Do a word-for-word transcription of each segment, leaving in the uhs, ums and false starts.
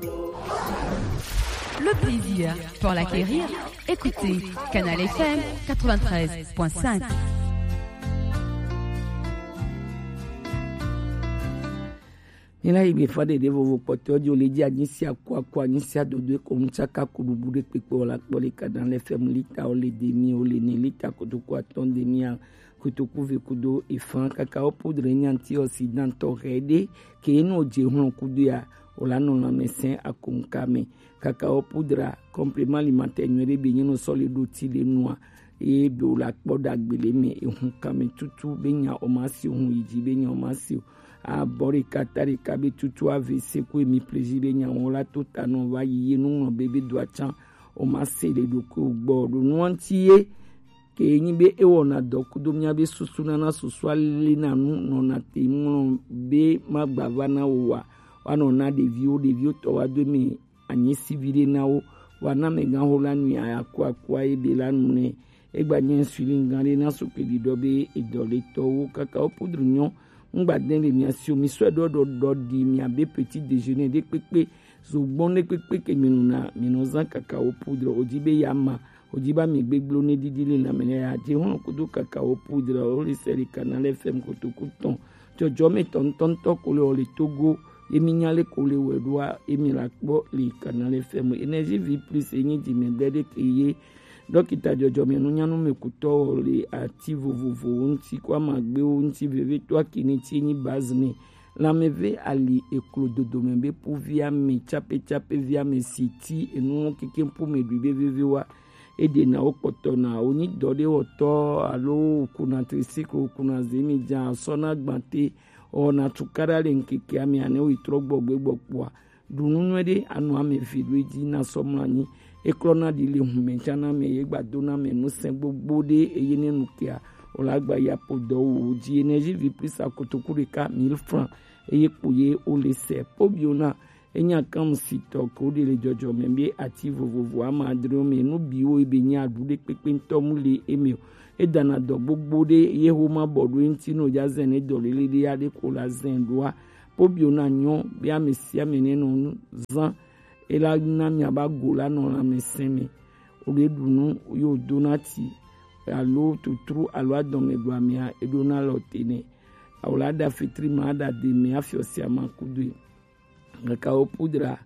Le plaisir pour l'acquérir, écoutez Canal F M quatre-vingt-treize point cinq. Mina yi be fa de de vovo kpɔtɔ di o le di anyi si aku aku anyi si adodo eko ŋutsa ka ku bubu de kpekpe o la kpɔ le kana le fɛmu lita o le demi o le ne lita kotoku atɔn demi a kotoku ve kudo efan kaka o poudre nyanti o si dantɔ hɛ de ke enu o je hlɔn kudo ya o la nɔ lanmɛsɛn akonka mɛ. Kaka o poudre complément alimentaire nyuie de be nyi no sɔ le do ti le nua. Eye be o la kpɔ dagbe le me ehun kame tutu be nya o ma si ohun yi ji be nya o ma si o. Abɔ ɖeka ta ɖeka be tutu ave se ku emi plezi be nya wɔn la to ta nɔ va yi ye nu ŋlɔ be be do atsan o ma se le ɖokui o gbɔ ɖo nu ŋuti ye ke nyi be e wɔna dɔ kudo mía be susu nana susu ale na nu nɔna te ŋlɔ be ma gba va na wo wa wa nɔ na ɖeviwo ɖeviwo tɔ wa do eme anyi si viɖe na wo. Wa na amegã ho la nui aku akua ye be la nu nɛ. Egba nye insulin gã ɖe na sukpe ɖiɖɔ be edɔ le tɔwo kaka wo poudre nyɔ. Ŋgba dɛn le mia si o mi sɔe ɖɔ ɖɔ ɖɔ ɖi mia be petit déjeuner ɖe kpekpe. Zogbɔn ɖe kpekpe ke mi nuna mi nɔ zan kaka wo poudre o di be ya ma o di ba mi gbegblɔ ne ɖiɖi le na me ne ya je hɔn kudo kaka wo poudre o le sɛ le kana le fɛm kotoku tɔn. Dzɔdzɔme tɔntɔntɔ ko le o le Togo ye mi nya le ko le wɛ ɖoa ye mi la kpɔ le kana le fɛm énergie vie plus enyi di me bɛ ɖe ke ye. Dɔkita dzɔdzɔme nunyanu me kutɔ o le ati vovovowo ŋuti ko amagbewo ŋuti veve to akini ti enyi base ne. Lãmeve ali eklo dodome be po via me tsape tsape via me si ti enu keke po me ɖui be veve wa. Eɖena wo kpɔtɔ na wo nyi dɔ ɖe wɔtɔ alo wokuna tricycle wokuna zemi dza sɔ na gbate wɔna tukaɖa le ŋkeke ame ane wo yi trɔ gbɔgbe gbɔkpɔa. Ɖu nu nyuie ɖe anu ame ve ɖo edzi na sɔ mlɔ anyi. Eklɔ na ɖi le hume tsa na ame ye gba do na ame nu sɛn gbogbo ɖe eye ne nu kea o la gba ya po dɔ wo wo dzi énergie vie plus akotoku ɖeka mille francs eye kpo ye o le sɛ po bio na. Enya kan si tɔ ko ɖe le dzɔdzɔme be ati vovovo ama adrewo me nu biwo ebe nya aɖu ɖe kpekpe ŋutɔ mu le eme o. Edana dɔ gbogbo ɖe ye ho ma bɔ ɖo eŋuti no dza zɛn ne dɔ lele ɖe ya ɖe ko la zɛn ɖoa. Po bio na nyɔ be ame sia ame ne nɔ nu zan ela na mia ba go la nɔ lãmesẽ me. O ɖe ɖu nu yo do na ti alo tutru alo adɔme ɖu amea eɖo na lɔ te ne. Awo la ɖa fitri ma ɖa de me afiɔ sia ma kudoe. Kaka wo pudra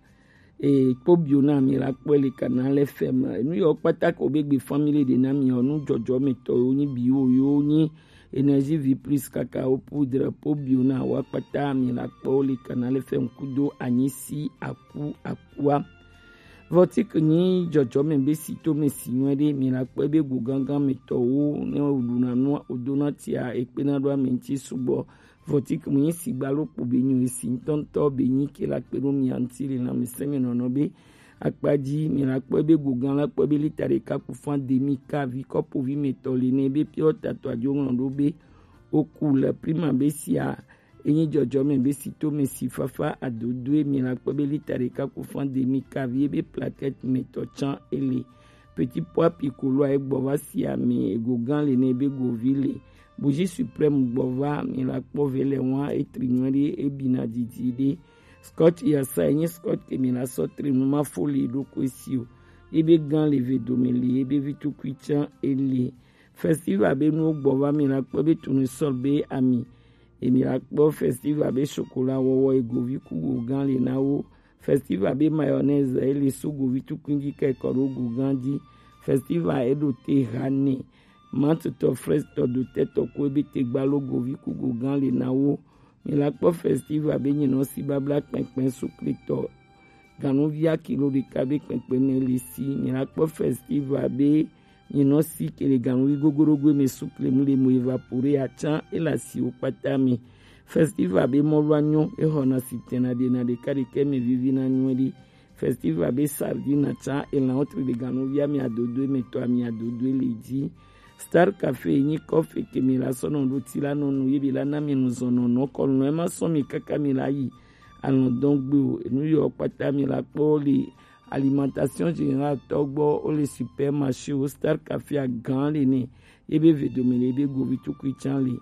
e kpo bio na mi la kpɔe le kana le fɛ ma enu yɔ kpata ko be gbe family de na mi ɔ nu dzɔdzɔ me tɔ yo nyi bio yo nyi énergie vie plus kaka wo pudra po bio na wa kpata mi la kpɔ le kana le fɛ kudo anyi si aku akua. Vɔtik nyi dzɔdzɔ me be si to me si nyuɛ ɖe mi la kpɔe be go gangan me tɔ wo ne o ɖu na nu o do na tia e kpe na ɖo ame ŋuti sugbɔ. Vɔtik mu nyi sigba lo kpo be nyi esi ŋutɔŋutɔ be nyi ke la kpe ɖo mia ŋuti le lãmesẽ me nɔnɔ be akpa dzi mi la kpɔe be go gã la kpɔe be lita ɖeka ku fan demi kavi kɔpovi me tɔ le ne be piɔ tatɔ adzo ŋlɔ ɖo be o ku le prima be sia enyi dzɔdzɔ me be si to me si fafa adodoe mi la kpɔe be lita ɖeka ku fan demi kavi ebe plaquette me tɔ tsan ele. Petit pois piccolo a egbɔ va si ame ego gã le ne be govi le. Bougie suprême gbɔ va mi la kpɔ ve le wa etri nyuɛ ɖe ebina didi ɖe. Scotch yasa enyi scotch ke mi la sɔ tri nu ma fo le ɖo ko esi o. Ebe gã le ve dome le ebe vi tukui tsan ele. Festival be nuwo gbɔ va mi la kpɔ be tournesol be ami. Emi la kpɔ festival be chocolat wɔwɔ egovi ku go gã le na wo. Festival be mayonnaise ele so govi tukui dzi kɛ kɔ ɖo go gã dzi. Festival eɖo te hane. Mantotɔ frɛstɔ dotɛtɔ ko ebe te gba lo govi ku go gã le na wo. Mi la kpɔ festival be nyinɔ si babla kpɛnkpɛn sukletɔ. Ganuvi akilo ɖeka be kpɛnkpɛn me le si. Mi la kpɔ festival be nyinɔ si ke le ganuvi gogorogo me sukle mu le mo evapore atsan ele asiwo kpata me. Festival be mɔlu anyɔ exɔna si tɛna ɖena ɖeka ɖeka me vivi na nyuɛ ɖi. Festival be sardine atsan elan wotri ɖe ganuvi ami adodo me tɔ ami adodo le dzi. Star Café nyi kɔfe ke mi la sɔ nɔ ɖo ti la nɔ nu ye bi la na mi nu zɔn nɔ nɔ kɔ nu ema sɔ mi kaka mi la yi alɔdɔn gbe o enu yɔ kpata mi la kpɔ le alimentation générale tɔ gbɔ o le supermarché o Star Café a gan le ne ye be ve dome le ye be govi tukui tsan le.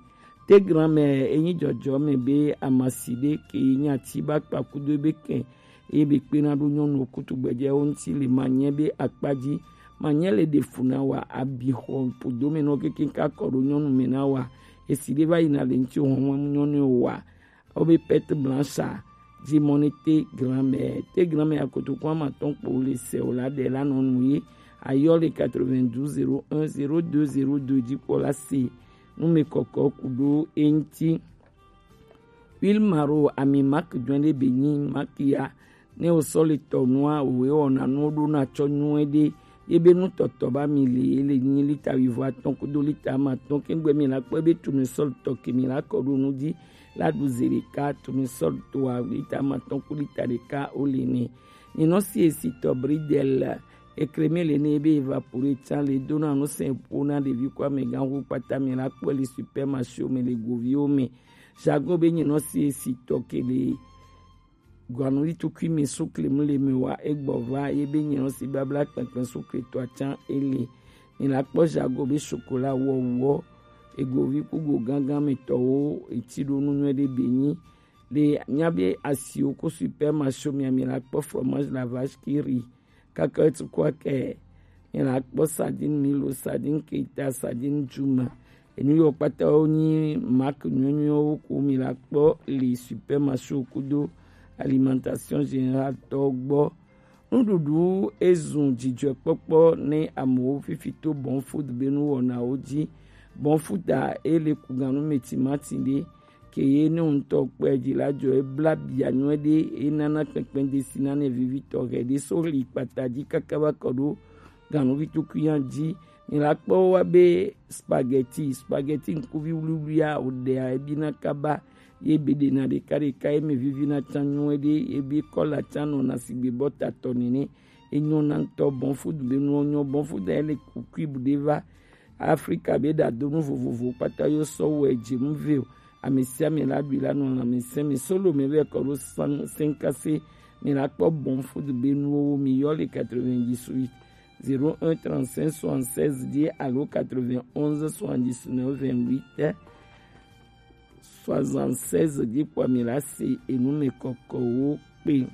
Te gran mɛ enyi dzɔdzɔ mɛ be amasi ɖe ke nyi ati ba kpa kudo be kɛn Eye be kpena ɖo nyɔnuwo kutugbɛjɛwo ŋuti le manyɛ be akpa ji. Manyɛ le ɖe fu na wa, abi xɔ ƒodo me nɔ kekeŋ ka kɔ ɖo nyɔnu me na wa. Esi ɖe va yina le ŋuti hɔn nyɔnu wa. Wo be perte blanche a, ji mɔ ne te grand-mère. Te grand-mère akotoku amatɔn kpo le se o la ɖe la nɔ nu ye. Ayɔ le quatre-vingt-douze zéro un zéro deux zéro deux ji kpɔ la se. Nu me kɔkɔ ku ɖo eŋuti. Wilmaro ami mak jɔn ɖe be nyi mak ya. Ne o sɔ le tɔ nua, o we wɔna nuwo ɖo na tsɔ nyuie ɖe. Ye be nutɔtɔ ba mi le, ye le nyi lita wuivo atɔn kudo lita amatɔn. Kengbe mi la kpɔ be tournesol tɔ ke mi la kɔ ɖo nu ji la ɖu ze ɖeka, tournesol toa lita amatɔn ku lita ɖeka o le ne. Nyinɔ si esi tɔ bridel ekreme le ne be evapore tsan le do na nu sɛn po na ɖevi ko amegã hu kpata mi la kpɔ le supermarché me le goviwo me. Jago be nyinɔ si esi tɔ ke le gɔanuli tukui mi sukle mu le mi wa egbɔ va ye be nyinɔ si babla kpɛnkpɛn sukle to atsan ele. Mi la kpɔ jago be chocolat wɔwɔ egovi kugo gángan mi tɔwo eti ɖo nu nyuie ɖe be nyi. Le nya be asiwo ko supermarché mi mi la kpɔ fromage la vache qui rit, cacahuète ko akɛ. Mi la kpɔ sardine milo, sardine keita, sardine juma. Enu yɔ kpata wo nyi mak nyuie nyuie wo ko mi la kpɔ le supermarché kudo alimentation générale tɔ gbɔ. Nuɖuɖu ezun dzidzɔkpɔkpɔ ne amewo fifi to Bon Food be nuwɔnawo ji. Bon Food a ele ku ganu me timati ɖe ke ye ne ŋutɔ kpɔe dzi la dzɔ ebla bia nyuie ɖe enana kpɛkpɛ desi nane vivitɔ hɛ ɖe so li kpata dzi kaka va kɔ ɖo ganuvi tukui ya dzi. Mi la kpɔ wa be spaghetti, spaghetti ŋkuvi wluwlua o ɖea ebi na kaba ye be ɖena ɖeka ɖeka ye me vivi na tsan nyuie ɖe ye be kɔla tsan nɔ na sigbe bɔta tɔ nene. Enyo na ŋutɔ Bon Food be nuwo nyɔ Bon Food ya le ku cube ɖe va Afrika be ɖadonu vovovo kpata yo sɔ wɔ edze mu ve o. Ame sia ame la ɖui la nɔ lãmesẽ me solo me vɛ kɔ ɖo san senkase. Mi la kpɔ Bon Food be nuwo mi yɔ le quatre-vingt-dix-huit zéro un trente-cinq soixante-seize dzi alo quatre-vingt-onze soixante-dix-neuf vingt-huit soixante-seize dzi kpɔ mi la se enu me kɔkɔwo kpe.